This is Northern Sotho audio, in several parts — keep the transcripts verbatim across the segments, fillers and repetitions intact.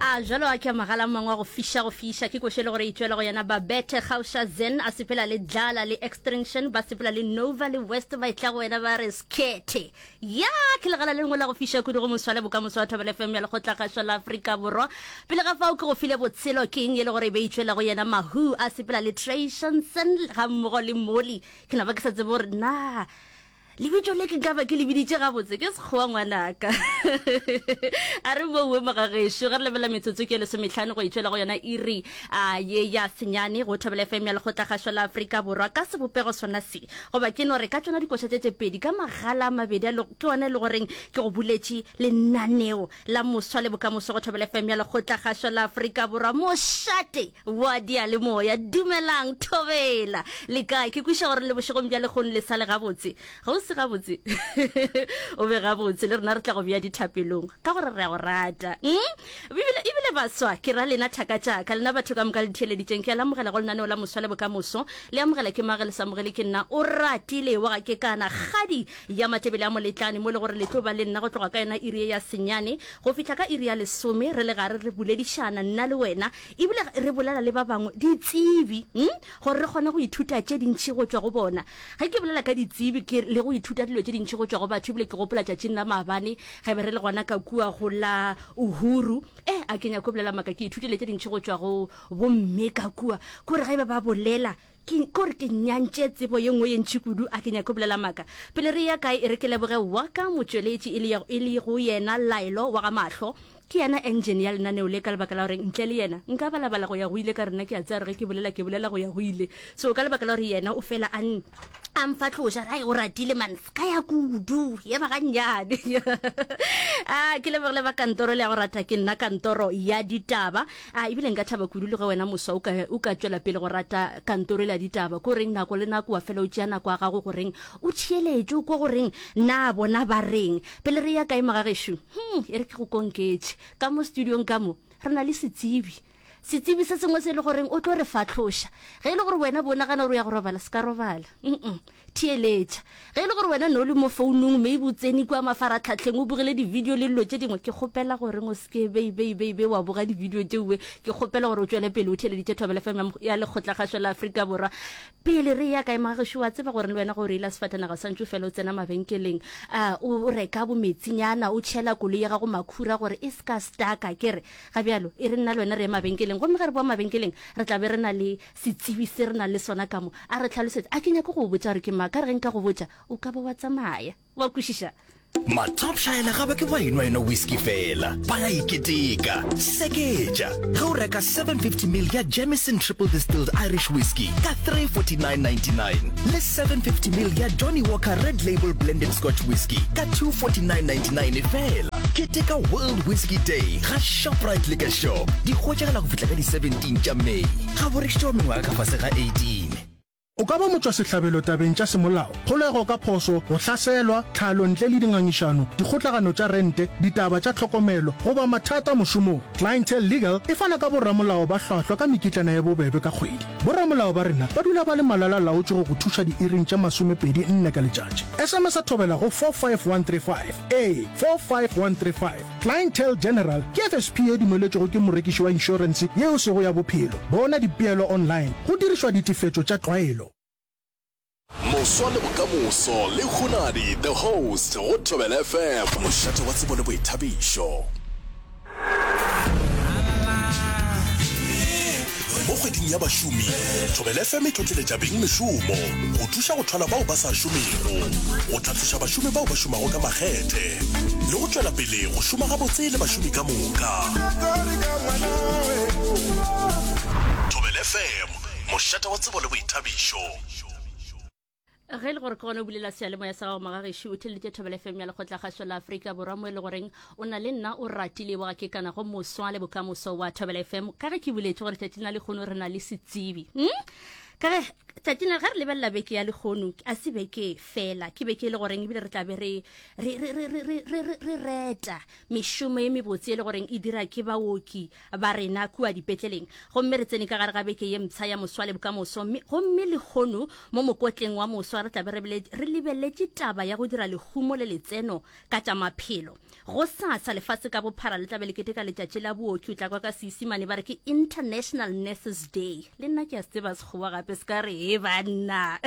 A jalo a ke magala mangwe a go fiša go fiša ke koše le gore e tšwele go yena Babette Gausha Zen a sepela le Dlala le Extinction ba sepela le Nova le West ba etla go wena ba re skete ya ke legala le lengwe la go fiša kudu go moswale bokamoso wa Thobela F M ya Lekgotlakgašo la Afrika Borwa pele ga fao ke go file botshelo keng e le gore e be e tšwela go yena Mahu a sepela le Trey Shanson ga mmogo le Molly ke napa ke sa tsebe gore na Lebitso le ke nka ba ke le biditše gabotse ke Sekgowa ngwanaka. A re bowe mogagešo ge re lebelela metsotso ke lesomehlano go itšwela go yona iri a ye ya senyane go Thobela F M ya Lekgotlakgašo la Afrika Borwa ka sebopego sona se goba ke no re ka tšona dikoša tše tše pedi ka magala a mabedi a ke ona e le goreng ke go buletše lenaneo la moswa le bokamoso go Thobela F M ya Lekgotlakgašo la Afrika Borwa mošate wa diyalemoya. Dumelang Thobela le kae? Ke kweša gore le bošegong bja lehono le sa le gabotse. Ga o se gabotse o be gabotse le rena re tla go bea dithapelong ka gore re a go rata. Mm? Ebile ebile baswa ke ra lena thaka tšaka lena batho ka moka le theeleditšeng ke a le amogela go lenaneo la moswa le bokamoso le amogela ke mage le sa amogele ke nna o ratile wa ga ke kana kgadi ya matebele a moletlane mo le gore le tlo ba le nna go tloga ka yona iri ye ya senyane go fihla ka iri ya lesome re le gare re boledišana nna le wena ebile re bolela le ba bangwe ditsebi mm? gore re kgone go ithuta tše dintši go tšwa go bona Ge ke bolela ka ditsebi ke le go ithuta dilo tše dintši go tšwa go batho, ebile ke gopola tšatšing la maabane ge be re le gona ka kua go la Uhuru. Eh, a ke nyako bolela maaka, ke ithutile tše dintši go tšwa go bomme ka kua. Kore ge ba ba bolela, ke kore ke nyantše tsebo ye nngwe ye ntši kudu, a ke nyako bolela maaka. Pele re ya kae, e re ke leboge wa ka motšweletši e le, e le go yena Laelo wa ga Mahlo. Ke yena engine ya lenaneo le ka lebaka la gore ntle le yena nka balabala go ya go ile ka rena ke a tseba gore ge ke bolela ke bolela go ya go ile. So ka lebaka la gore yena o fela a a mfatloša re o ratile man ska ya kudu ema gannyane. A ke lebogile ba kantoro le ya go rata ke nna kantoro ya ditaba. A ebile nka thaba kudu le ge wena moswa o ka o ka tšwela pele go rata kantoro le ya ditaba ko reng nako le nako wa fela o tšea nako ya gago goreng o theeletše o kwe goreng na bona ba reng. Pele re ya kae mogagešo? Hmm, e re ke go konketše. Ka mo studiong ka mo, re na le setsebi. Setsebi se sengwe se e le goreng o tlo re fahloša. Ge e le gore wena bo nagana gore o ya go robala, se ka robala. Mm-mm. Theeletša. Ge e le gore wena ne o le mo founung, maybe o tsene kua mafaratlhatlheng, o bogile di-video le dilo tše dingwe, ke kgopela goreng o se ke bei, bei, bei, bei wa boga di-video tšeoe. Ke kgopela gore o tšwele pele o theeleditše Thobela F M ya Lekgotlakgašo la Afrika Borwa. Pele re eya kae, mogagešo, wa tseba gore le wena ge o reila sefatanaga sa ntšu fela o tsena mabenkeleng, a o reka bometsinyana, o tšhela koloi ya gago makhura gore e se ka staka. Ke re, ga bjalo, e re nna le wena re ye mabenkeleng. Gomme ge re boa mabenkeleng, re tla be re na le setsebi se re nang le sona ka mo. A re hlalosetše. A ke nyake go go botša gore ke mang. Ka re ge nka go botša, o ka ba wa tsamaya. Wa kwešiša? Mathopšaela ga ba ke ba enwa enwa whisky fela, ba ya iketeka. Seketša ge o reka seven fifty mil ya Jameson Triple Distilled Irish Whiskey ka three forty-nine ninety-nine le seven fifty mil ya Johnnie Walker Red Label Blended Scotch Whisky ka two forty-nine ninety-nine fela. Keteka World Whisky Day ga Shoprite Liquor Shop. Di hwetšagala go fihla ka di seventeen tša May. Ga bo rekišetšwa mengwaga ka fase ga eighteen. O ka ba motšwasehlabelo tabeng tša semolao, kgolego ka phoso, go hlaselwa, tlhalo ntle le dingangišano, dikgotlagano tša rente, ditaba tša tlhokomelo, goba mathata mošomong. Clientele Legal e fana ka boramolao ba hlwahlwa ka mekitlana ye bobebe ka kgwedi. Boramolao ba rena ba dula ba le malala-laotšwe go go thuša diiring tše masomepedi nne ka letšatši. S M S Thobela go four five one three five ee, four five one three five. Clientele General ke F S P ye dumeletšwego ke morekiši wa inšorense yeo sego ya bophelo. Bona dipeelo online go dirišwa ditefetšo tša tlwaelo. Moswa le bokamoso le Hunadi the host go Thobela F M. Mošate wa tsebo le boithabišo. Mo kgweding ya bašomi, Thobela F M e tlotleletša bengmešomo go thuša go thwala bao ba sa šomego, go hlatloša bašomi bao ba šomago ka makgethe le go tšwela pele go šoma gabotse le bašomi ka moka. Thobela F M, mošate wa tsebo le boithabišo. Ge e le gore ke gona o bulela seyalemoya sa gago magagešo, o theleditše Thobela F M ya Lekgotlakgašo la Afrika Borwa mo e le goreng o na le nna o ratile wa ke kana go moswa le bokamoso wa Thobela F M. Ka ge ke boletše gore tšatšing la lehono re na le setsebi. Hmm? Ka ge tšatšing le ge re lebelela beke ya lehono, a se beke fela, ke beke e le goreng ebile re tla be re re re re re re re re reta mešomo e mebotse e le goreng e dira ke baoki ba rena kua dipetleleng. Gomme re tsene ka gare ga beke ye mpsha ya moswa le bokamoso, mme gomme lehono mo mokotleng wa moswa re tla be re re lebeletše taba ya go dira lehumo le letseno ka tša maphelo. Gosasa lefase ka bophara le tla be le keteka letšatši la booki, o tla kwa ka Seisimane ba re ke International Nurses Day. Le nna ke a se tseba Sekgowa gape se ka re he banna.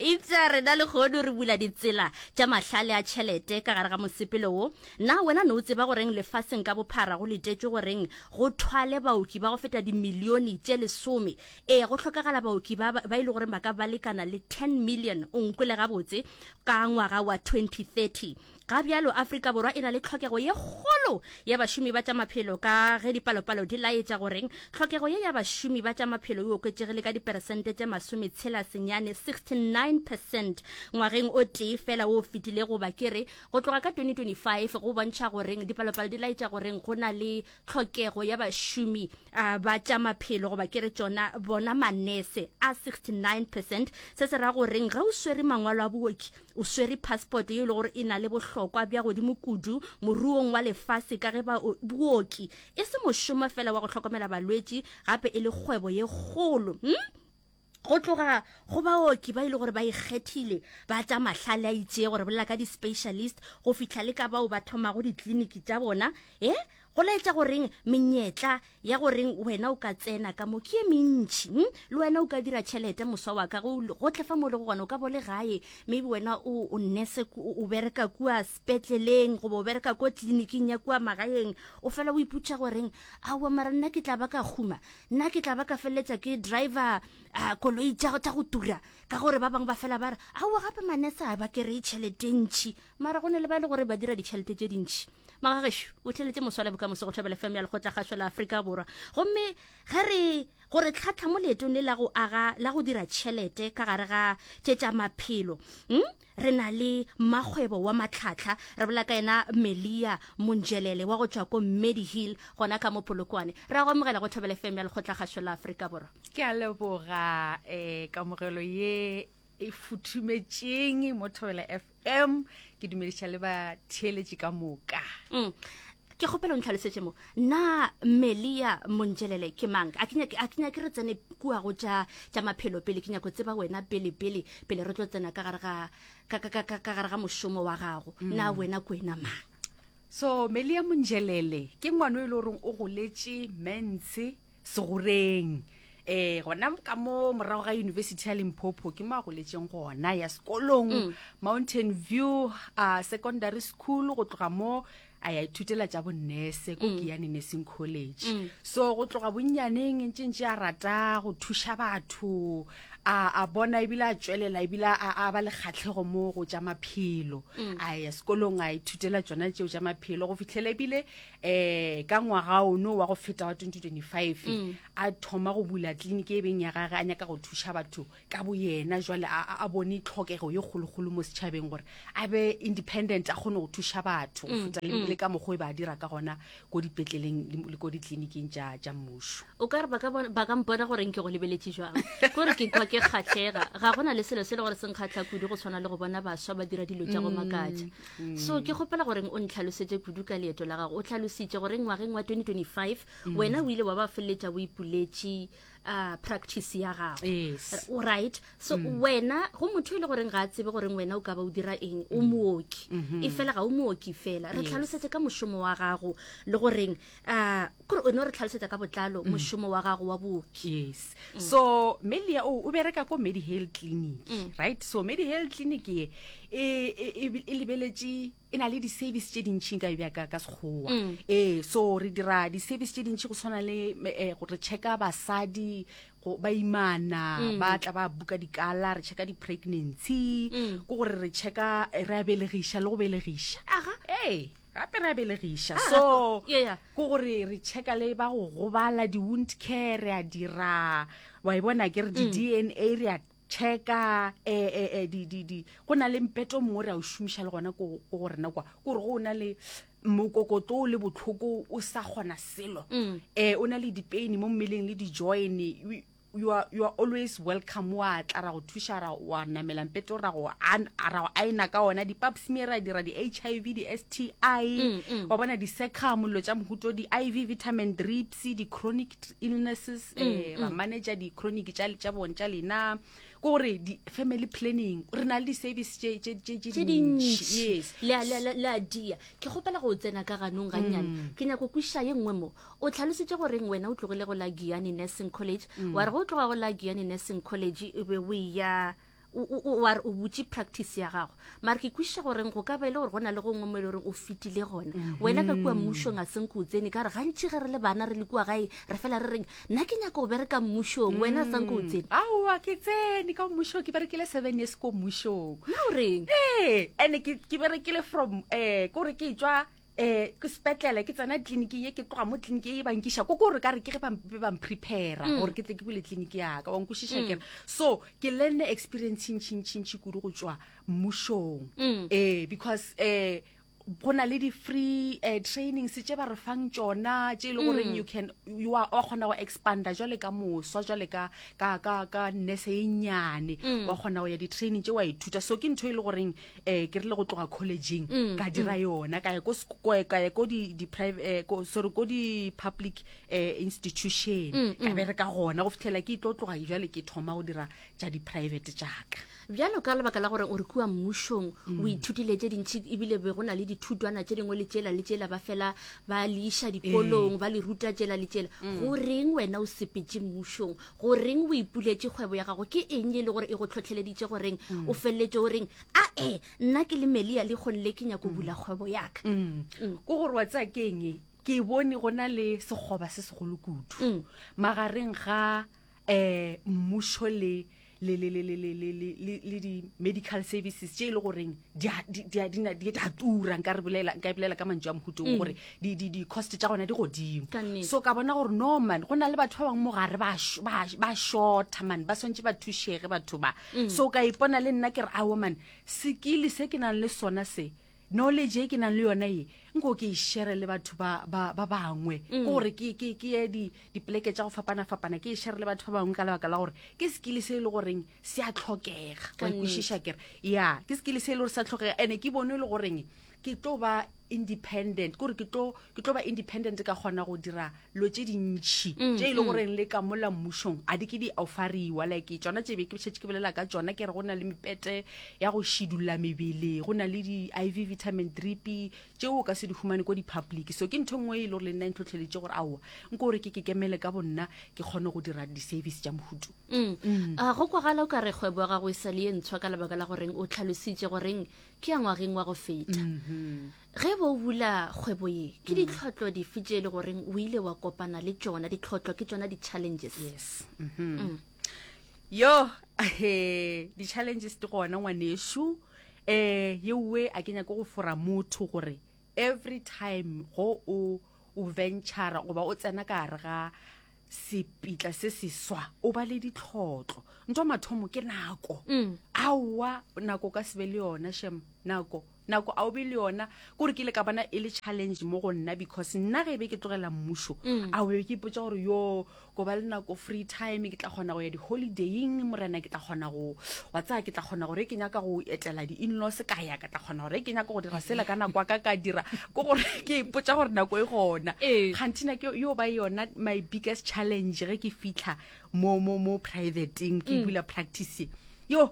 Eupša rena lehono re bula ditsela tša mahlale a tšhelete ka gare ga mosepelo wo. Na wena ne o tseba goreng lefaseng ka bophara go letetšwe goreng go thwale baoki ba go feta dimilione tše lesome? Ee, go hlokagala baoki ba ba e le goreng ba ka ba lekana le ten million, o nkwele gabotse, ka ngwaga wa twenty thirty. Ga bjalo Afrika Borwa e na le tlhokego ye kgolo ya bašomi ba tša maphelo ka ge dipalopalo di laetša goreng tlhokego ye ya bašomi ba tša maphelo e oketšegile ka diperesente tše masometshela senyane, sixty nine percent, ngwageng o tee fela wo o fetilego goba ke re go tloga ka twenty twenty five go bontšha goreng dipalopalo di laetša goreng go na le tlhokego ya bašomi ba tša maphelo goba ke re tšona bona manese a sixty nine percent. Se se ra goreng ge o swere mangwalo a booki o swere passport ye e le gore e na le bohlokwa bja godimo kudu moruong wa lefase ka ge ba booki e se mošomo fela wa go hlokomela balwetši gape e le kgwebo ye kgolo. Hm? Go tloga go baoki ba e le gore ba ikgethile ba tša mahlale a itšego, re bolela ka di-specialist, go fihla le ka bao ba thomago ditleliniki tša bona, e go laetša goreng menyetla ya goreng wena o ka tsena ka mo ke ye mentši. Hm? Le wena o ka dira tšhelete moswa wa ka, go gohle fa mo le go gona o ka bo le gae, maybe wena o o nurse o bereka kua sepetleleng goba o bereka ko tleliniking ya kua magaeng, o fela o ipotša goreng aowa mara nna ke tla ba ka huma, nna ke tla ba ka feleletša ke driver uh, koloi tša tša go tura, ka gore ba bangwe ba fela ba re aowa gape manese a ba kry-e tšhelete ntšhi, mara go ne le ba e le gore ba dira ditšhelete tše dintšhi. Magagešo o theletše moswa le bokamoso go Thobela F M ya Lekgotlakgašo la Afrika Borwa. Gomme ge re gore tlhatlha mo leetong le la go aga la go dira tšhelete ka gare ga tše tša maphelo, hm? Re na le mmakgwebo wa matlhatlha, re bolela ka yena Melia Monjelele wa go tšwa ko Medihill gona ka mo Polokwane. Re a go amogela go Thobela F M ya Lekgotlakgašo la Afrika Borwa. Ke a leboga eh, kamogelo ye e futhumetšeng mo Thobela F M. Ke dumediša le batheeletši ka moka. Mm. Ke kgopela o ntlhalosetše mo, na Melia Monjelele ke mang? A ke nyake, a ke nyake re tsene kua go tša, tša maphelo pele, ke nyako tseba wena pele, pele, pele re tlo tsena ka gare ga, ka, ka, ka, ka, ka gare ga mošomo wa gago. Mm. Na wena ke wena mang? So Melia Monjelele ke ngwana o e le goreng o goletše Mentshe Segoreng. Eh, gona ka mo morago ga University ya Limpopo ke mo a goletšeng gona, ya sekolong, Mm. Mountain View, uh, Secondary School, go tloga mo a ya ithutela tša bonnese ko Mm. Giyani Nursing College. Mm. So go tloga bonnyaneng ntše ntše a rata go thuša batho, a, a bona ebile a tšwelela ebile a, a ba le kgatlhego mo go tša maphelo. Mm. A ya sekolong a ithutela tšona tšeo tša maphelo go fihlela ebile, eh, ka ngwaga ono wa go feta wa twenty twenty-five, Mm. a thoma go bula tleliniki e beng ya gagwe, a nyaka go thuša batho ka boyena. Jwale a, a, a bone tlhokego ye kgolokgolo mo setšhabeng gore a be independent, a kgone go thuša batho go Mm, feta le, mm. le ka mokgwa e ba dira ka gona ko dipetleleng le, le ko ditleliniking tša, tša mmušo. O ka re ba ka bona, ba ka mpona gore nke go lebeletše jwang, kore ke kwa ke kgahlega. Ga gona le selo se le gore se nkgahla kudu go tshwana le go bona baswa ba dira dilo tša go makatša. Mm, So mm. ke kgopela gore o ntlhalosetše kudu ka leeto la gago. O tlhalositše gore ngwageng wa twenty twenty-five Mm. wena o ile wa ba feleletša o ipuletše, uh, practice ya gago. Yes. O right. So Mm. wena go motho e le goreng ga a tsebe gore wena o ka ba o dira eng, o Mm. mooki. Mm-hmm. E fela ga o mooki fela. Re Yes. tlhalosetše ka mošomo wa gago le goreng, uh, kore o no re tlhalosetša ka botlalo Mm. mošomo wa gago wa booki. Yes. Mm. So Melia o, o bereka ko Medihill Clinic, Mm. right? So Medihill Clinic ye e, e, e, e lebeletše, e na le di-service tše dintši nka e bea ka, ka Sekgowa. Mm. Ee, so re dira di-service tše dintši go tshwana le, eh, go re checka basadi, go ba imana, Mm. ba tla ba buka dikala, re checka di-pregnancy, Mm. ke gore re checka, re a belegiša le go belegiša. Aga. Ee, gape re a belegiša. Ah, So, yeah, yeah. ke gore re checka le ba go gobala, di-wound care re a dira, wa e bona ke re di Mm. D N A re a checka, eh, eh, eh, di, di, di. Go na le mpeto o mongwe re a o šomiša le gona ko, ko go rena kwa. Ke gore go na le mokokotlo o le bohloko o sa kgona selo. Mm. Eh, o na le di-pain mo mmeleng le di-join, you are, you are always welcome wa tla ra go thuša ra wa namela mpete ra go an- ra go aena ka ona di-pap smear ra dira di-h i v di-s t i Mm, mm. wa bona di-secum dilo tša mohuto di-i v vitamin drips di-chronic illnesses Mm, eh, ra manager di-chronic tša tša bone tša lena ke gore di-family planning re na le di-service tše tše- tše- tše tše dintši dintši yes le a- le a- le a dia ke kgopela go tsena ka ganong gannyane ke nyako kwešiša ye nngwe mo o tlhalositše goreng wena o tlogile go la Giyani Nursing College wa re go tloga go la Giyani Nursing College e be o ya o- o o- wa re o butše practice ya gago mare ke kwešiša goreng go ka ba e le gore go na le gongwe mo e le goreng o fetile gona wena ka kua mmušong a senke o tsene ka re gantši ge re le bana re le kua gae re fela re reng nna ke nyaka go bereka mmušong wena a sanke o tsene aowa ke tsene ka mmušong ke berekile seven years ko mmušong na o reng ee and ke ke berekile from um kore ke tswa um ke sepetlele ke tsena tleliniking ye ke tloga mo tleliniking ye ba nkiša ko kore ka re ke ge ba be ba mprepara gore ke tle ke bule tleliniki yaka wa nkwešiša kere so ke learne experience ntšintšintši kudu go tswa mmušong ee because um go na le di-free uh, trainings tše ba re fang tšona tše e le goreng you can you are wa kgona go expanda jwale ka moswa jwale ka ka ka ka nurse e nnyane wa kgona go ya di-training tše wa ithuta so ke ntho e le goreng um ke rile go tloga collegeng ka dira yona ka ya ko sek- ko- ka ya ko di di private eh, ko sorry ko di-public eh, institution ka bereka gona go fitlhela ke tlo tloga jwale ke thoma go dira tša di-private tšaka bjalo ka lebaka la gore o re kua mmušong o ithutile tše dintši ebile be go na le dithutwana tše dingwe le tšela le tšela ba fela ba le iša dikolong ba le ruta tšela le tšela go reng wena o sepetše mmušong go reng o ipuletše kgwebo ya gago ke eng e le gore e go tlhotlheleditše goreng o feleletše o reng a e nna ke le melia le kgonle ke nyako bula kgwebo yaka ko gore wa tsaya ke eng ke bone go na le sekgoba se segolo kudu magareng ga um mmušo le le le le le le le le le le di-medical services tše e le goreng di a di di a di na- di a tura nka re bolela nka e bolela ka mantšu a mohutong gore di di di-cost tša gona di godimo Ka nnete. so ka bona gore no man go na le batho ba bangwe mo gare ba sh- ba ba shorta man ba swantse ba thušege batho ba so ka ipona le nna ke re aowa man sekile se ke nang le sona se knowledge e ke nang le yona e nko ke e share le batho ba ba ba bangwe ke gore ke ke ke ye di dipoleke tša go fapana-fapana ke e share le batho ba bangwe ka lebaka la gore ke skill se e le goreng se a tlhokega Ka wa ikwešiša kere ya ke skill se e le gore se a tlhokega and ke bone e le goreng ke tlo ba independent kore ke tlo ke tlo ba independent ka kgona go dira lo tše dintšhi tše e le goreng le ka mola mmušong a di ke di offeriwa like tšona tše be ke šetše ke bolela ka tšona ke re go na le mepete ya go šidulla mebele go na le di-i v vitamin drip tšeo o ka se di humane ko di-public so ke ntho e nngwe e le gore le nna e ntlhotlheletše gore aowa nko gore ke ke kemele ka bonna ke kgone go dira di-service tša mohuto Mm. A go kwagala o ka re kgwebo ya gago e sa le ye ntshwa ka lebaka la goreng o tlhalositše goreng ke ya ngwageng wa go feta ge bo o bula kgwebo ye ke ditlhotlo dife tše e le goreng o ile wa kopana le tšona ditlhotlo ke tšona di-challenges yes mm yo he di-challenges di gona ngwanešu um yeowe a ke nyake go fora motho gore every time go o o ventura goba o tsena ka gare ga sepitla se seswa o ba le ditlhotlo ntho ya mathomo ke nako aowa nako o ka se be le yona shem nako nako a o be le yona kore ke ile ka bona e le challenge mo go nna because nna ge e be ke tlogela mmušo a be ke ipotsa gore yo ko ba le nako free time ke tla kgona go ya di-holidaying morena ke tla kgona go wa tsaya ke tla kgona gore ke nyaka go etela di-inlaws ka ya ka tla kgona gore ke nyaka go dira sela ka nako ya ka ka dira ke gore ke ipotsa gore nako e gona Ee. kganthi nako yo ba yona my biggest challenge ge ke fitlha mo mo mo privateng ke bula practice yo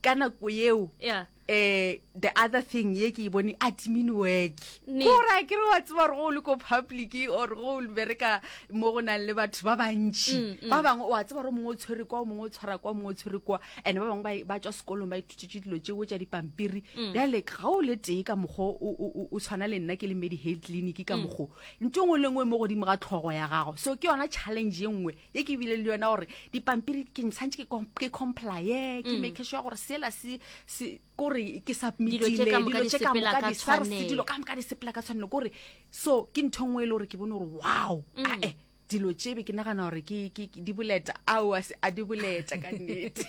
ka nako yeo Yeah. eh the other thing ye ke e bone admin work Nnete. kore a ke re wa tseba gore go o le ko public or go o bereka mo go nang le batho ba bantši ba bangwe wa tseba gore o mongwe o tshwere kwa o mongwe o tshwara kwa o mongwe o tshwere kwa and ba bangwe ba- ba tswa sekolong ba ithutetse dilo tšeo tša dipampiri bjale ga o le tee ka mokgwa o- o o- o tshwana le nna ke le medihealth clinic ka mokgwa ntho e nngwe le nngwe mo godimo ga tlhogo ya gago so ke yona challenge ye nngwe ye ke bile le yona gore dipampiri ke tshwanetse ke com- ke complye ke make sure gore sela se se kore ke Dilo tše submitile ka moka dilo di tše ka sepela moka ka di SARS tshwanelo. dilo ka moka di sepela ka tshwanelo kore so ke ntho e nngwe e le gore ke bone gore wow ae Dilo tše be ke nagana gore ke ke di boleta, ao a se a di boleta ka nnete.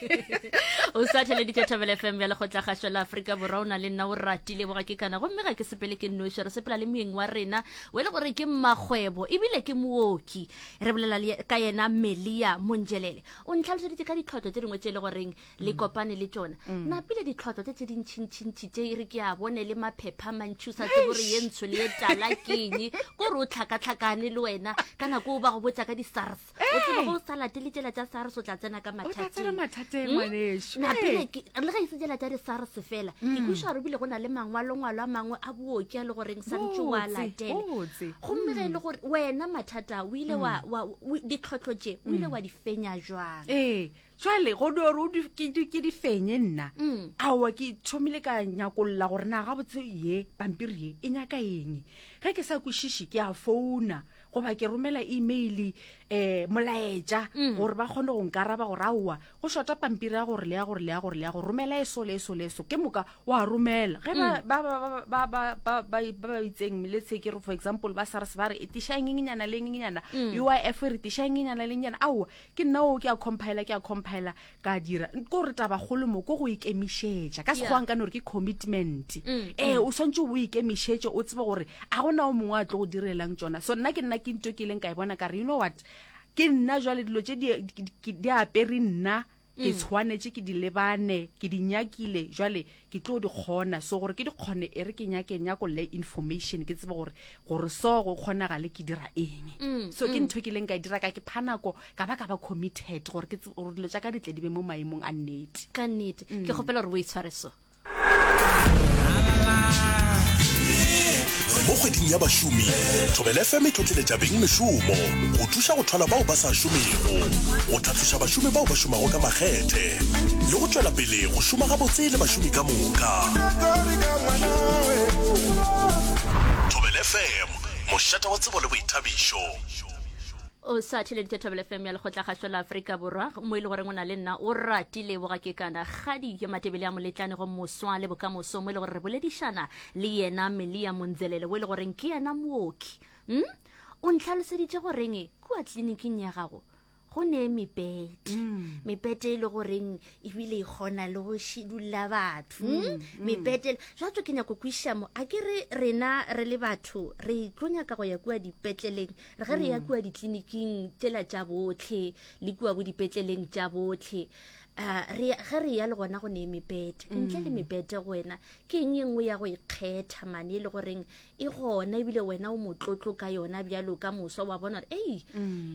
O sa theleditše Thobela F M ya Lekgotlakgašo la Afrika Borwa. O na le nna o ratile boga ke kana, gomme ga ke sepele ke nnoši, re sepela le moeng wa rena o e le gore ke mmakgwebo ebile ke mooki. Re bolela le ka yena Melia Monjelele. O ntlhaloseditše ka ditlhotlo tše dingwe tše e le goreng le kopane le tšona. Napile ditlhotlo tše tše dintšhintšhintšhi tše e re ke a bone le maphepha a mantši, o sa tsebe gore ye ntsho le ye tala keng, kore o tlhakatlhakane le wena ka nako o ba go botša ka di-SARS, o tsebe go sa latele tšela tša SARS o tla tsena ka O tla tsena mathateng. Mathateng, ngwanešu. Napile ke- le ge e se tsela tša di-SARS fela, ke kweša gore ebile go na le mangwalongwalo a mangwe a booki a le goreng santse o a Botse, latele. Botse. Gomme ge e le gore wena mathata o ile wa wa- o- ditlhotlho tše o ile wa di fenya jwang? Ee, jwale go di gore o di- ke di ke di fenye nna, Mm. aowa, ke thomile ka nyakolla gore na gabotse ye pampiri ye e nyaka eng. Ge ke sa kwešiše, ke a founa goba ke romela email, um molaetša, gore ba kgone go nkaraba gore aowa, go shota pampiri ya gore le ya gore le ya gore le ya go romela eso le eso le eso. Ke moka wa romela ge ba ba ba ba ba ba ba ba ba itseng, let's say ke re for example ba SARS ba re e tiša eng nyana le eng nyana, U I F re tiša eng nyana le nyana, aowa, ke nna o ke a compila, ke a compila, ka dira. Ko re tabakgolo mo ko go ikemišetša ka Yeah. Sekgowa nka no re ke commitment. Ee, o swantse o ikemišetše, o tsebe gore a gona o mongwe a tlo go direlang tsona. So nna ke nna ke nto ke ileng ka e bona, ka re, you know what, ke nna jwale dilo tše di- di di apere nna, ke tshwanetše ke di lebane, ke di nyakile, jwale ke tlo di kgona. So gore ke di kgone, e re ke nyake nyakolle information, ke tsebe gore gore so go kgonagale ke dira eng. So ke ntho ke ileng ka e dira, ka ke pha nako, ka ba ka ba committed gore ke tsebe gore dilo tša ka di tle di be mo maemong a nnete. Ka nnete ke kgopela gore o itshware so. Mo kgweding ya bašomi, Thobela F M e tlotleletša beng mešomo go thuša go thwala bao ba sa šomego, go tlhatloša bašomi bao ba šomago ka makgethe, le go tšwela pele go šoma gabotse le bašomi ka moka. Thobela F M, mošate wa tsebo le boithabišo. O sa theleditše Thobela F M ya Lekgotlakgašo la Afrika Borwa, mo e le goreng o na le nna o ratile boga ke kana kgadi ke Matebele a moletlane go moswa le bokamoso, mo e le gore re boledišana le yena Melia Monzelele, o e le goreng ke yena mooki. mm? O ntlhaloseditše goreng kua tleliniking ya gago go ne mepete, mepete e le goreng ebile e kgona le go šidulla batho, mm? Mepete jwatso ke nyako kwešiša mo, a ke re rena re le batho re tlo nyaka go ya kua dipetleleng, re ge re ya kua ditleliniking tšela tša botlhe le kua bo dipetleleng tša botlhe, uh, re ge re ya le gona go ne mepete. Ntle le mepete, go wena ke eng e nngwe ya go ikgetha mane e le goreng e gona ebile wena o motlotlo ka yona bjalo ka moswa, wa bona gore ei,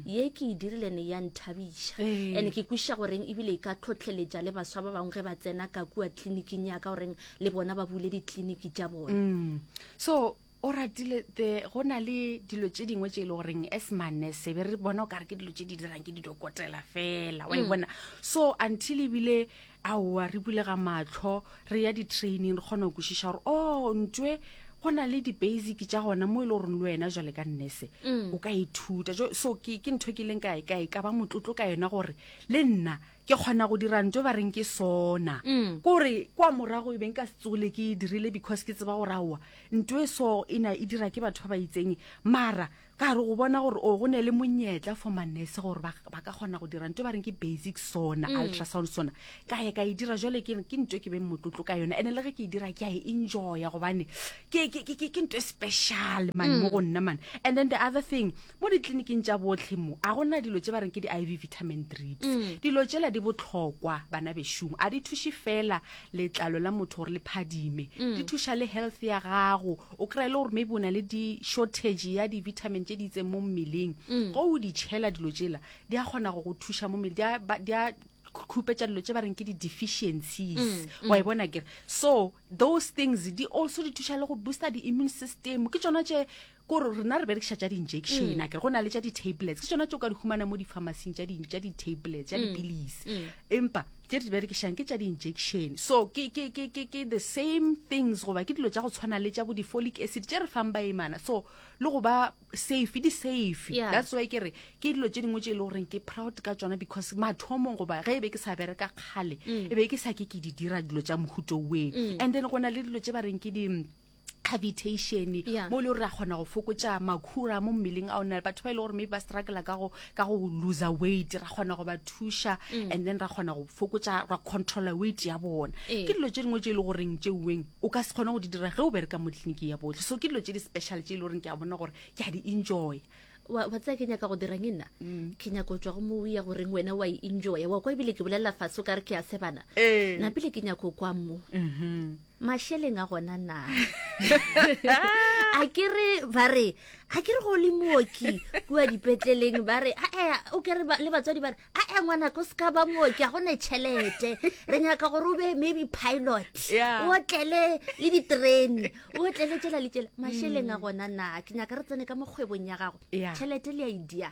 ye ke e dirile ne ya nthabiša, Ee. and ke kwešiša goreng ebile e ka tlhotlheletša le baswa ba bangwe ge ba tsena ka kua tleliniking ya ka goreng le bona ba bule ditleliniki tša bona? Mm. so o ratile the go na le dilo tše dingwe tše e le goreng as manese be re bona o kare ke dilo tše di dirang ke didokotela fela, wa e bona. So until ebile aowa re bulega matlho, re ya di-training, re kgona go kwešiša gore o ntwe go na le di-basic tša gona mo e le goreng le wena jwale ka nnese o ka ithuta. Jo- so ke ke ntho ke ileng ka ka ka ba motlotlo ka yona gore le nna ke kgona go dira ntho ba reng ke sona, kore kwa morago e beng ka se tsole ke e dirile, because ke tseba gore aowa, ntho e so e na e dira ke batho ba ba itseng, mara ka re go bona gore o go ne le monyetla for manese gore ba ba ka kgona go dira ntho ba reng ke basic sona, ultrasound sona, ka ye ka e dira. Jwale ke ke ntho e ke beng motlotlo ka yona, and le ge ke e dira ke a e enjoya gobane ke ke ke ke ntho e special man mo go nna man. And then the other thing, mo ditleliniking tša botlhe mo a gona dilo tše ba reng ke di-I V vitamin drips. Dilo tšela di botlhokwa, bana bešong. A di thuše fela letlalo la motho gore le phadime, di thuša le health ya gago. O kry-e le gore maybe o na le di-shortage ya di-vitamin tše di itseng mo mmeleng, go o di tšhela dilo tšela di a kgona go go thuša mo mmele, di a ba- di a khupetša dilo tše ba reng ke di-deficiencies, wa e bona kere. So those things di also di thuša le go booster di-immune system. Ke tšona tše kore rena re berekiša tša di-injection, a kere go na le tša di-tablets, ke tšona tše o ka di humana mo di-pharmacing, tša di- tša di-tablets, tša dipilisi, empa tše re di berekišang ke tša di-injection. So ke, ke, ke, ke, ke the same things, goba ke dilo tša go tshwana le tša bo di-folic acid tše re fang baimana, so le go ba safe, di safe. Yeah. That's why ke re ke dilo tše dingwe tše e le goreng ke proud ka tšona, because mathomong goba ge e be ke sa bereka kgale, e be ke sa ke ke di dira dilo tša mohuto weng. And then go na le dilo tše ba reng ke di cavitation Yeah. mo e le gore ra kgona go fokotša makhura mo mmeleng a ona batho ba e le gore maybe ba struggle ka go ka go lose weight ra kgona go ba thuša Mm. and then ra kgona go fokotša ra controla weight ya bona Ee. ke dilo tše dingwe tše e le goreng tšeuweng o ka se kgone go di dira ge o bereka mo tleliniking ya botlhe so ke dilo tše di special tše e le goreng ke a bona gore ke a di enjoy wa wa tsaya ke nyaka go dirang e nna ke nyaka go tswa go mo ya goreng wena wa e enjoya wa kwa ebile ke bolelela fatshe o ka re ke a sebana Ee. napile ke nyaka go kwa mo mašeleng a gona na a ke re ba re a ke re go le mooki kua dipetleleng ba re ae o kere ba- le batswadi ba re ae ngwanaka o se ka ba mooki a gone tšhelete re nyaka gore o be maybe pilot Yeah. o otlele le diterene o otlele tšela le tšela mašeleng a gona na ke nyaka re tsene ka mo kgwebong ya gago Yeah. tšhelete le a idea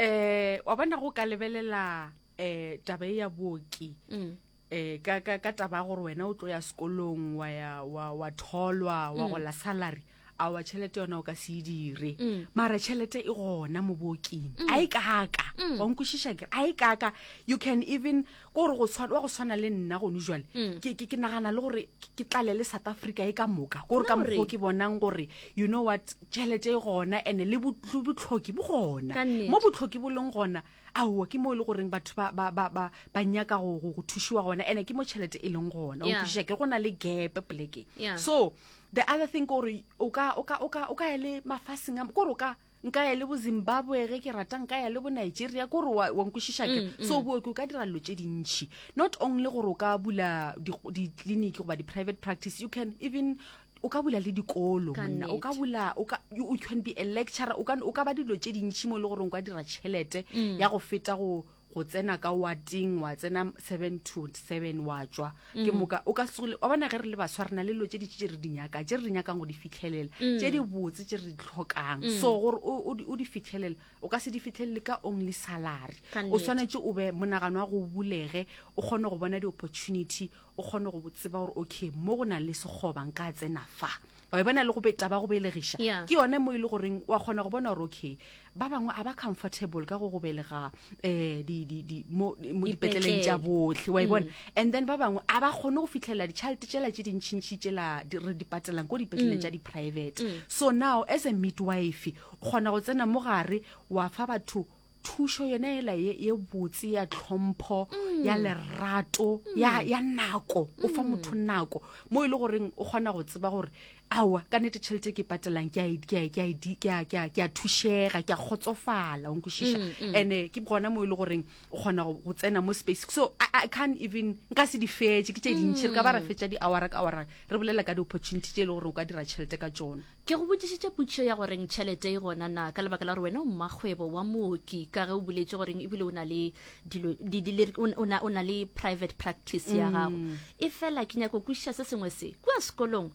um wa bona go ka lebelela um taba e ya booki Mm. eh ka ka ka taba ya gore wena o tlo ya sekolong wa ya wa wa tholwa wa gola salary a wa tšhelete yona o ka se e dire mara tšhelete e gona mo booking a e kaka wa nkwešiša kere a e kaka you can even ko gore go tshwana wa go tshwana le nna gone jwale ke ke ke nagana le gore ke- ke tlale le South Africa e ka moka ko gore ka No re. mokgwa o ke bonang gore you know what tšhelete e gona and le botl- botlhoki bo gona Ka nnete. mo botlhoki bo leng gona aowa ke mo e le goreng batho ba, ba, ba, ba, ba nyaka go, go, go thušiwa gona ande ke mo tšhelete e leng gona o Yeah. nkwešiša ke go na le gap polekeng Yeah. so the other thing ke gore o ka o ka o ka o ka ya le mafaseng a kore o ka nka ya le bo Zimbabwe ge ke rata nka ya le bo Nigeria kore wa wa nkwešiša ke Mm, so booki o ka dira dilo tše dintšhi not only gore o ka bula di-clinic goba di-private practice you can even o ka bula le dikolo Ka monna o ka nnete. bula o ka you, you can be a lecturer o ka o ka ba dilo tše dintšhi mo e le gore o ka dira tšhelete Mm. ya go feta go go tsena ka wateng wa tsena seven to seven wa tšwa ke Mm. moka o ka se wa bona ge re le baswa re na le dilo tše dintši tše re di nyaka tše re di nyakang go di fitlhelela Mm. tše di botse tše re di tlhokang so gore o o di- o di fitlhelele o ka se di fitlhelele ka only salary Ka o nnete. swanetše o be monagano wa go bulege o kgone go bona di-opportunity o kgone go tseba gore okay mo go na le sekgoba nka tsena fa wa e bona le go be taba go belegiša Yeah. ke yone mo e le goreng wa kgona go bona gore okay ba bangwe a ba comfortable ka go go belega um di, di, di, mo, mo dipetleleng tša botlhe wa e bona and then ba bangwe a ba kgone go fitlhelela ditšhelete tšela tše dintšhintšhi tšela di- re di patelang ko dipetleleng tša di-private so now as a midwife o kgona go tsena mo gare wa fa batho thušo yona ela ye ye botse ya tlhompho ya lerato ya ya nako o fa motho nako mo e le goreng o kgona go tseba gore aowa ka nnete tšhelete e ke e patelang ke a e- ke a e- ke a e di- ke a- ke a- ke a thušega ke a kgotsofala o nkwešiša and-e ke gona mo e le goreng o kgona go go tsena mo space so I, I can't even nka se di fetše ke tše dintšhi re ka ba ra fetša di-hour ka hour re bolela ka di-opportunity tše e le gore o ka dira tšhelete ka tšona ke go botšišitše potšišo ya goreng tšhelete e gona na ka lebaka la gore wena o mmakgwebo wa mooki ka ge o boletse goreng ebile o na le dilo di- di- le- o o na o na le private practice ya gago e fela ke nyaka go kwešiša se sengwe se kua sekolong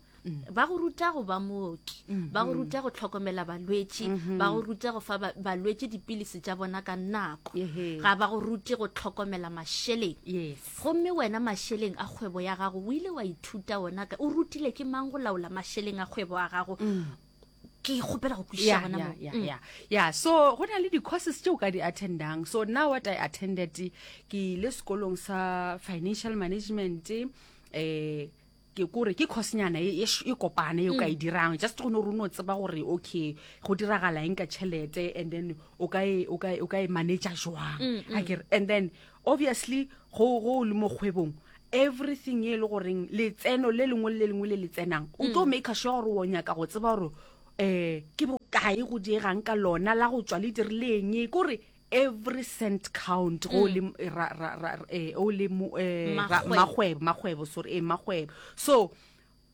ba go ruta go ba mooki ba go ruta go tlhokomela balwetši ba go ruta go fa ba- balwetši dipilisi tša bona ka nako Ehe. ga ba go rute go tlhokomela mašeleng yes gomme wena mašeleng a kgwebo ya gago o ile wa ithuta ona ka o rutile ke mang go laola mašeleng a kgwebo a gago ke kgopela go kwešiša yeah, gona yeah, mo yeah, Mm. yeah. yeah. so go na le di-courses tše o ka di attendang so now what i attended ke ile sekolong sa financial management eh ke kore ke coursenyana e, e sh- e kopane e o ka e dirang just go ne gore o no tseba gore okay go diragala eng ka tšhelete and then o ka e o ka e- o ka e manager jwang akere and then obviously go go le mo kgwebong everything e le goreng letseno le lengwe le le lengwe le le tsenang o tlo make sure gore o nyaka go tseba gore um ke bokae go diegang ka lona la go tswa le dirileng kore every cent count go le ra- ra- ra- eh, o le mo- eh, ra- Makgwebo. makgwebo makgwebo sorry eh, makgwebo so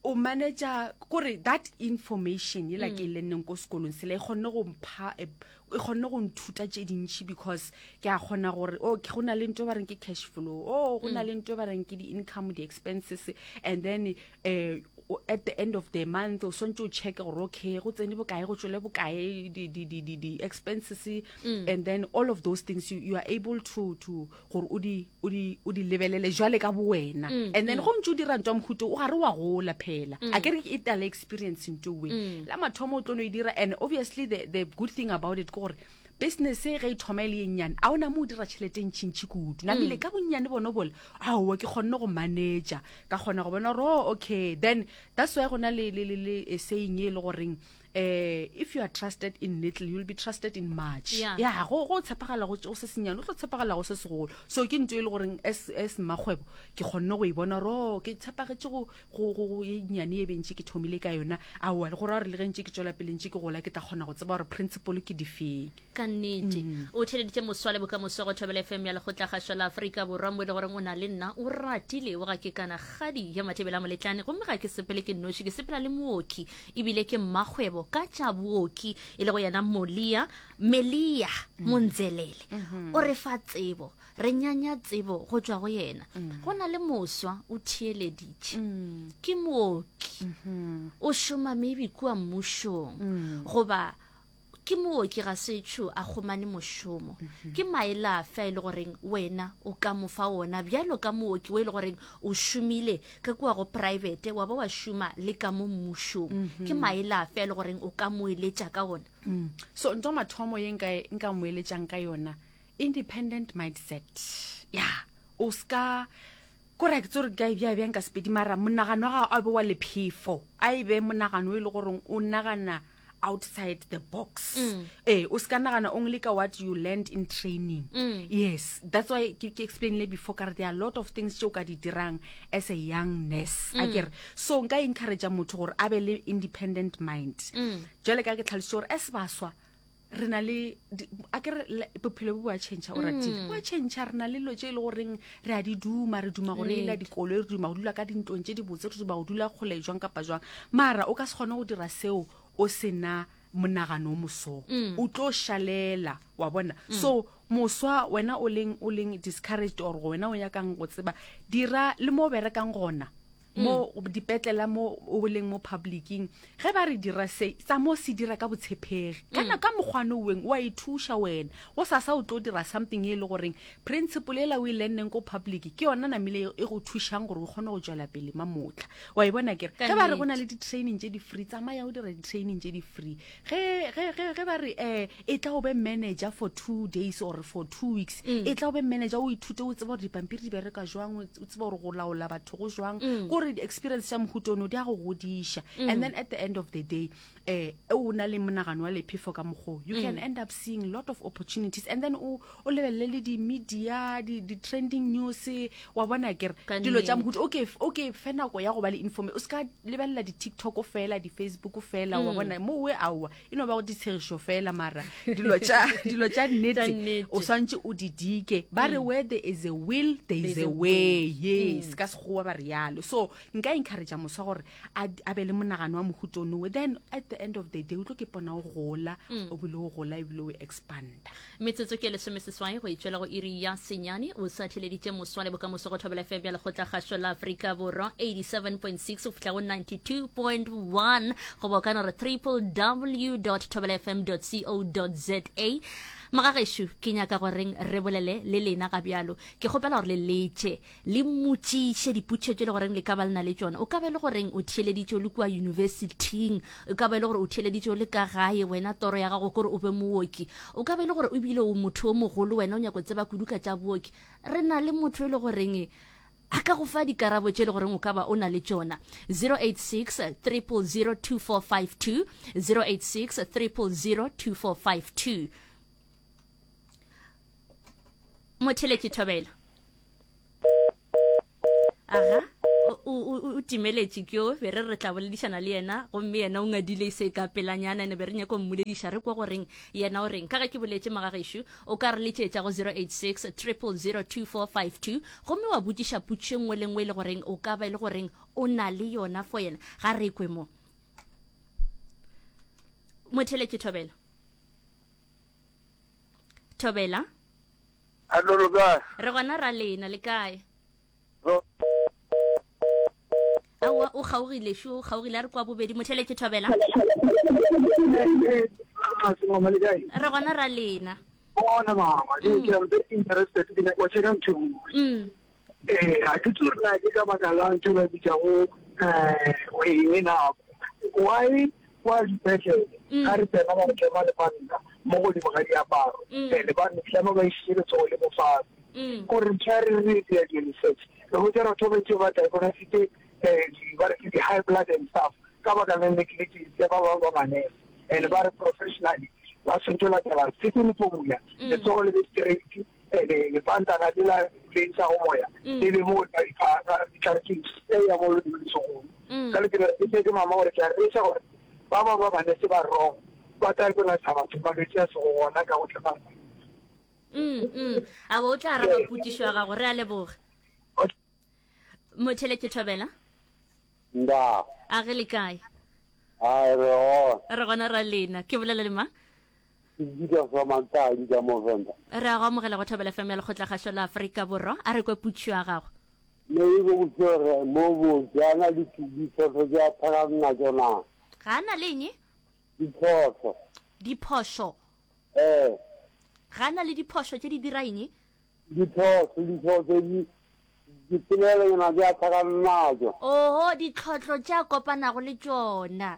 o manager kore that information yela ke e lenneng ko sekolong sela e kgonne go mpha e e kgonne go nthuta tše dintšhi because ke a kgona gore oh ke go na le ntho e ba reng ke cash flow oh go na le ntho e ba reng ke di-income di-expenses and then eh o- at the end of the month o swantse o checke gore okay go tsene bokae go tswele bokae di-expenses and then all of those things you, you are able to to gore o di o di o di lebelele jwale ka bo wena and then go ntse o dira ntho ya mohuta o gare wa gola phela a ke re ke e tala experience ntho we la mathomo o tlo no e dira and obviously the, the good thing about it ke gore Business ge e thoma e le ye nnyane, a o na mo o dira tšhelete e ntšintši kudu. Namile ka bonnyane bona bola, aowa ke kgonne go manager, ka kgona go bona gore oh okay. Then that's why go na le le le le saying e le goreng eh if you are trusted in little, you'll be trusted in much. Yeah. Yeah, go go tshepagala go go se senyane, o tlo tshepagala go se segolo. So ke ntho e le goreng as as mmakgwebo ke kgonne go e bona gore oh ke tshepagetše go go go go ye nnyane e bentše ke thomile ka yona. Aowa le go ra gore le ge ntše ke tšwela pele ntše ke gola ke tla kgona go tseba gore principle ke difeng. Ka nnete. O theeleditše moswa le bokamoso go Thobela F M ya Lekgotlakgašo la Afrika Borwa mo e le goreng o na le nna o ratile o ga ke kana kgadi ya Mathebela Moletlane, gomme ga ke sepele ke nnoši, ke sepela le mooki ebile ke mmakgwebo ka tša booki e le go yena Molia Melia Montselele. O re fa tsebo, re nyanya tsebo go tšwa go yena. Go na le moswa o theeleditše, ke mooki, o šoma maybe kua mmušong goba ke mooki ga setsho a kgomane mošomo. Ke maele afe a e le goreng wena o ka mo fa ona bjalo ka mooki o e le goreng o šomile ka kua go private wa ba wa šoma le ka mo mmušong? Ke maele afe a e le goreng o ka mo eletša ka ona? Mm. So ntho mathomo ye nka nka mo eletšang ka yona, independent mindset. Yeah, o ska kore ke tsore ka bja bjang ka Sepedi, mara monagano wa gago a be wa lephefo, a e be monagano e le goreng o nagana outside the box. Mm. Eh, o ska nagana only ka what you learned in training. Mm. Yes, that's why ke ke explainile before ka re there are a lot of things tšeo ka di dirang as a young nurse. Mm. Akere so nka encourage motho gore a be le independent mind. Mm. Jwale ka ke tlhalositse gore as baswa re na le di-, akere le-, bophelo bo a change o ratile. Mm. Bo a change, re na le dilo tše e le goreng re a di duma, re duma go reila Nnete. dikoloi, re duma go dula ka dintlong tše dibotse, re duma go dula kgole jwang kapa jwang. Mara o ka se kgone go dira seo o sena monagano o moso. Mm. O tlo šalela, wa bona. Mm. So moswa wena o leng, o leng discouraged or wena o nyakang go tseba, dira le mo o berekang gona. Mo Mm. dipetlela mo o leng mo publicing, ge ba re dira se, tsa mo se dira ka botshepegi. Kana Mm. ka mokgwa no weng wa ithuša wena. Go sasa o tlo dira something e le goreng principle ela o e learneng ko public ke yona namile e go thušang gore o kgone go tšwela pele mamotla. Wa e bona kere? Ka Ge ba re go na nnete. le di-training tše di-free, tsamaya o dira di-training tše di-free. Ge, ge, ge, ge ba re, eh, e tla o be manager for two days or for two weeks, Mm. e tla o be manager o ithute, o tsebe gore dipampiri di bereka jwang, o tsebe gore go laola batho go jwang. Mm. Kore di-experience tša mohuta ono di a go godiša. Mm. And then at the end of the day, eh, o na le monagano wa lephefo ka mokgo, you can Mm. end up seeing lot of opportunities. And then o, o lebelele le di-media, di, di-trending news, wa bona kere Ka dilo tša nnete. mohuta. Okay, okay, fe nako ya go ba le informa-, o ska lebelela di-TikTok fela, di-Facebook fela, wa Mm. bona, mo we aowa, e no ba go ditshegišo fela, mara dilo tša, dilo tša nnete, Tša nnete. o swantše o di dike. Ba re Mm. where there is a will, there is There's a a way. way. Yes, Mm. ka Sekgowa ba re yalo. So nka encourage moswa gore a, a be le monagano wa mohuta ono. Then at the end of the day o tlo ke pona o gola, Mm. o bile o gola ebile o expanda. Metsotso ke lesomeseswai go itšwela go iri ya senyane. O sa theleditše moswa le bokamoso go Thobela F M ya Lekgotlakgašo la Afrika Borwa eighty-seven point six go fihla go ninety-two point one, goba o ka no re triple w dot thobela f m dot co dot z a. Magagešo, ke nyaka goreng re bolele le lena ga bjalo. Ke kgopela gore le letše, le mmotšiše dipotšišo tše le goreng le ka ba le na le tšona. O ka ba e le goreng o theeleditše o le kua universityng, o ka ba e le gore o theeleditše o le ka gae, wena toro ya gago kore o be mooki. O ka ba e le gore o bile o motho o mogolo, wena o nyaka go tseba kudu ka tša booki. Re na le motho e le goreng a ka go fa dikarabo tše le goreng o ka ba o na le tšona. zero eight six, triple zero two four five two, zero eight six, triple zero two four five two. Motheletši Thobela. Aga, o, o, o, o timeletše ke yo, be re re tla boledišana le yena, gomme yena o ngadile se ka pelanyana, ene be re nyaka go mmolediša, re kwa goreng yena o reng. Ka ge ke boletše magagešo, o ka re letšetša go zero eight six, triple zero two four five two, gomme wa botšiša potšišo e nngwe le nngwe e le goreng o ka ba e le goreng o na le yona for yena. Ga re kwe mo. Motheletši Thobela. Thobela. Hallo, le kae? Re gona ra lena, le kae? Ro- Aowa, o kgaogile, šo, o kgaogile, a re kwa bobedi. Motheletši Thobela. Eh, eh, mama, le kae? Re gona ra lena. Bona, mama, ke, ke am very interested, ke nyaka go check-a ntho e nngwe. Mm. Eh, ga ke tsebe gore na ke ka baka la ntho e ba bitšago, eh, eng nako. Why, why dipetlele? Mm. Ga re tsena ba re tlema lepanta. mo godimo ga diaparo and ba tlama ba išitše letsogo le mo fatshe kore ntho ya re re dira di-research re botsa batho ba bantši ba diagnosite um ba re ke di-high blood and stuff ka baka la negligence ya ba bangwe ba manese and ba re professionally ba tshwanetse go latela certain formula letsogo le be straight and lepantana le la le ntšhago moya le be mo ditlhare tše ya mo letsogong ka le ke ke mama gore ke a reša gore ba ba ba manese ba wrong ba diagnose batho malwetse a sego gona ka go tlema Mm, mm. A bo o tla araba potšišo ya gago re a leboga motheletše thobela nda a ge le kae a re gona re gona ra lena ke bolela le mang ke bitsa Samantadi ka Movenda re a go amogela go thobela fm ya lekgotlakgašo la Afrika Borwa a re kwe potšišo ya gago ne e go botse mo botse a na le diphoso tse a tlhakang natso na ga a na le eng diphoso diphošo ee ga a na le diphošo tše di dira eng diphoso diphoso di dipolelonyana tse a tlhakang natso oho ditlhotlo tše a kopanago le tšona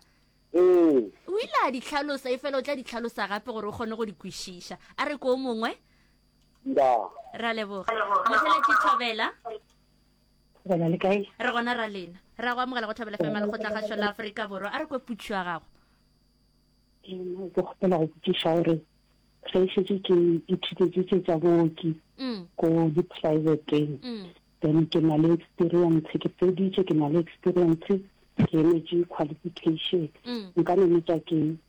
ee o ile a di hlalosa e fela o tla di hlalosa gape gore o kgone go di kwešiša a re ko o mongwe nda re a leboga motheletše thobela Gona le kae? re gona ra lena re a go amogela go thobela fm ya lekgotlakgašo la Afrika Borwa a re kwe potšišo ya gago Ee, ke kgopela go botšiša gore ge e šetše ke ithutetše tše tša booki Mm, ko di-privateng mm, then ke na le experience ke feditše ke na le experience ke emetše qualification mm. nka no metša ke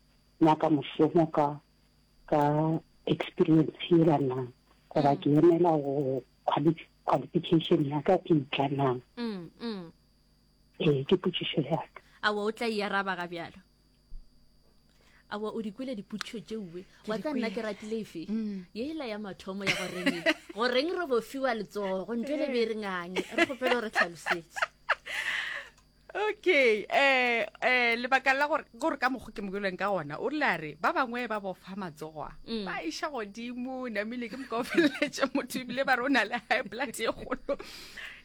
nyaka mošomo ka ka experience yela na goba ke emela go quali- qualification ya ka e tla na Mm, mm. ee ke potšišo ya ka awa o tla e araba ga bjalo awa o di kwele dipotšišo tšeuwe wa tla nna ke ratile efe ye ela ya mathomo ya goreng goreng re bo fiwa letsogo ntho le be e re nganye re kgopele gore tlhalosetse okay eh eh lebaka la gore gore ka mokgwa ke mokweleng ka gona o rile a re ba bangwe ba bofa matsogo a Mm. ba iša godimo namile ke moka o feleletše motho ebile ba re o na le high blood ye kgolo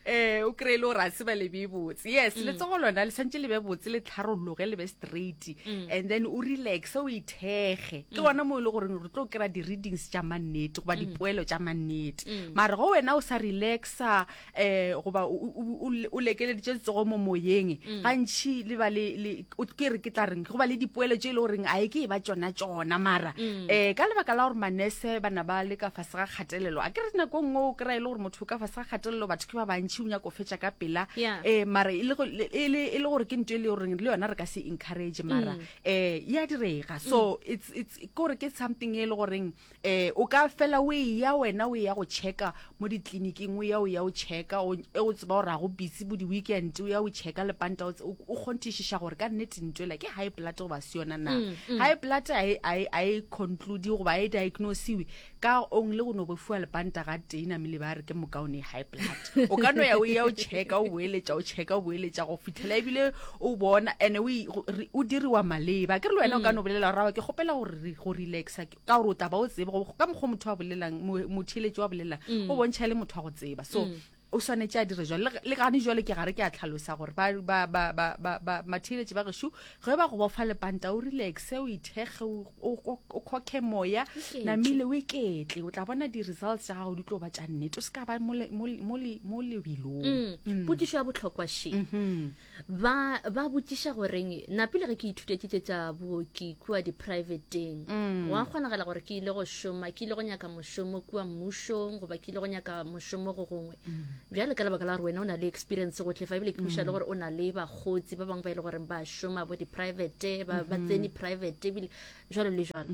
eh o kry-e le gore a se ba lebe botse yes Mm. letsogo lona le santse le be botse le tlharologe le be straight Mm. and then o relaxe o ithekge ke gona mo e le goreng re tlo kry-a di-readings tša mannete goba Mm. dipoelo tša mannete mare go wena o sa relaxa um goba o- o o- o lekeleditše letsogo mo moyeng Mm. gantšhi le ba le le- o- ke re ke tla reng go ba le dipoelo tše e le goreng a e ke e ba tšona tšona mara Mm. um ka lebaka la gore manese bana ba le ka fase ga kgatelelo a ke re nako nngwe o kry-a e le gore motho o ka fase ga kgatelelo batho ke ba bantšhi o nyako fetša ka pela Yeah. um mara e le go- le e le e le gore ke ntho e le goreng le yona re ka se encourage mara um ya direga so it's it's ke gore ke something e le goreng um o ka fela o e ya wena o ya go checka mo ditleliniking o ya o ya o checka o e o tseba gore ga go busy bo di-weekend o ya o checka lepanta o tse- o o kgonthišiša gore ka nnete ntho ela ke high blood goba se yona na high blood a e- a e- a e conclude goba a e diagnosiwe ka only go no bofiwa lepanta ga tee namile ba re ke mokaone high blood o ka no ya o ya o checka o boeletša o checka o boeletša go fitlhela ebile o bona and o e- go- re- o diriwa maleba ke re le wena o ka no bolela gore "Aowa, ke kgopela gore re- go relaxa ka gore o tla ba o tsebe go- ka mokgwa motho a bolelang mo- motheeletši wa bolelang o bontšha e le motho wa go tseba so o swanetše a dire jalo Le- le gane jalo ke gare ke a tlhalosa gore ba- ba- ba- ba- ba- ba- matheeletši ba gešo ge ba go bofa lepanta o relaxe o ithekge o- o o- o khokhe moya Iketle. namile o iketle o tla bona di-results tša gago di tlo ba tša nnete o se ka ba mo le- mo le- mo le- mo lebelong Mm. potšišo ya bohlokwa še ba ba botšiša goreng napile ge ke ithutetše tše tša booki kua di-privateng wa kgonagala gore ke ile go šoma ke ile go nyaka mošomo kua mmušong goba ke ile go nyaka mošomo go gongwe bjale ka lebaka la gore wena o na le experience go tlefa ebile ke kweša le gore o na le bakgotsi ba bangwe ba e le goreng ba šoma bo di-private ba ba tsene private ebile jalo le jalo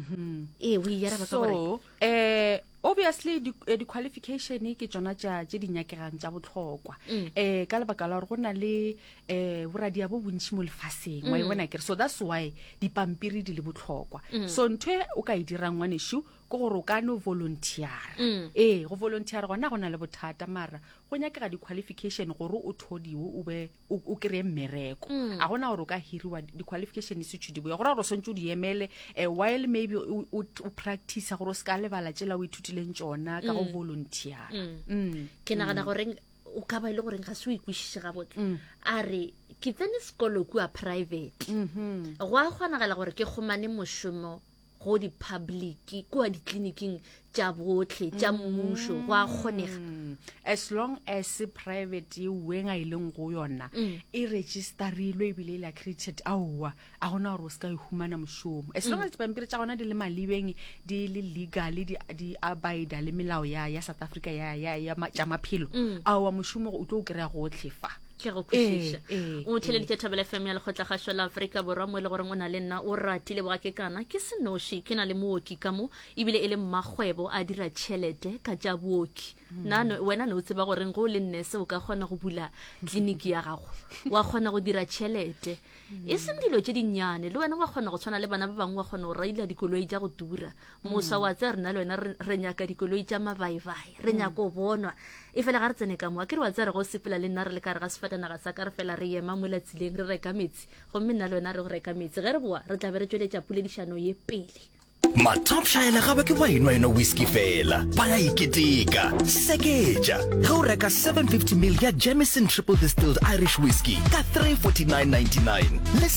ee o e araba ka gore so eh obviously di- eh, di-qualification ke tšona tša tše di nyakegang tša bohlokwa Mm. eh ka lebaka la gore go na le eh boradia bo bontši mo lefaseng wa e Mm. bona kere so that's why dipampiri di le bohlokwa Mm. so ntho e o ka e dirang ngwanešu ke gore o ka no volunteera Mm. ee go volunteera gona go na le bothata mara go nyakega di-qualification gore o thodiwe o be o o kry-e mmereko Mm. a gona gore o ka hiriwa di-qualification setšho di boya go raya gore o swantse o di emele um while maybe o o- o practice gore o se ka lebala tsela o ithutileng tšona ka go Mm. volunteera Mm. Mm. ke nagana goreng o ka ba e le goreng ga se o ikwešiše gabotse Mm. a re ke tsene sekolo kua private Mm-hmm. go a kgonagala gore ke kgomane mošomo go di-public kua ditleliniking tša botlhe tša mmušo go a kgonega Mm. as long as private ye weng a e leng go yona Mm. e registerilwe ebile e le accredited aowa a gona gore o se ka e humana mošomo as Mm. long as dipampiri tša gona di le malebeng di le legal di, di abida le melao ya, ya south africa ya, ya, ya ma, tša maphelo Mm. aowa mošomo o tlo o kry-a gotlhe fa ke go kwešiša Ee, ee, o theleditše thobela fm ya lekgotlakgašo la aforika borwa mo e le goreng o na le nna o ratile boga ke kana ke senoši ke na le mooki ka mo ebile e le mmakgwebo a dira tšhelete ka tša booki nna no- wena ne o tseba goreng go o le nnese o ka kgona go bula tleliniki ya gago wa kgona go dira tšhelete e seng dilo tše dinnyane le wena wa kgona go tshwana le bana ba bangwe wa kgona go raila dikoloi tša go tura moswa wa tsaya rena le wena re re nyaka dikoloi tša mabaibai re nyaka go bonwa e fela ga re tsene ka mo a ke re wa tsaya re go sepela le nna re le ka re ga sefatanaga sa ka re fela re ema mola tseleng re reka metsi gomme nna le wena re go reka metsi ge re boa re tla be re tšweletša poledišano ye pele Matopšhaela ga ba ke ba enwa eno whisky fela, ba ya iketeka. Seketša ge o reka seven fifty mil ya Jameson Triple Distilled Irish Whiskey ka three forty nine ninety nine le